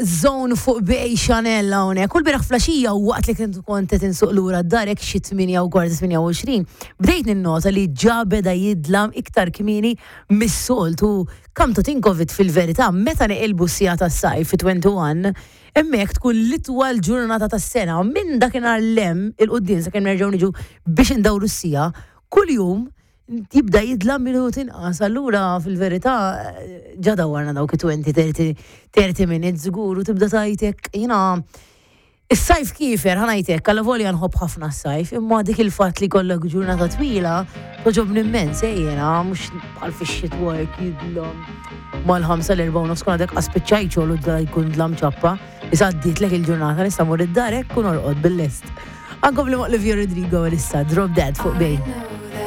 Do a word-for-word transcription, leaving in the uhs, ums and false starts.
Zone fuq Bay Chanel hawnhekk. Kull bieraħ filgħaxija u waqt li kont kont qed insuq lura d-dar xi tmienja u kwarta, tmienja u għoxrin, bdejt ninnota li ġa beda jidlam iktar kmieni mis-soltu. Come to think of it, fil-verità, meta neqilbu s-siegħa tas-sajf fi wieħed u għoxrin, hemmhekk tkun l-itwal ġurnata tas-sena. Minn dakinhar 'l hemm 'il quddiem sakemm nerġgħu niġu biex indawru s-siegħa, kuljum jibda jidlam minut inqas. Allura fil-verità ġa dawarna dawk għoxrin, thirty minutes żgur u tibda tajtek jiena is-sajf kiefer, ħa ngħidlek, għalla volja nħobb ħafna s-sajf, imma dik il-fatt li kollok ġurnata twila, togħġobni immens, eh, jiena, mhux bħal fix-xitwa jekk jidlam mal-ħamsa, l-erbgħa u nofs kun għadek spiċċajt xogħol u da jkun dlam ċappa, issa għaddietlek il-ġurnata, nista' mur id-dar hekk kun orqod bil-lest. Ankom li Olivia Rodrigo issa, Drop Dead fuq Bay.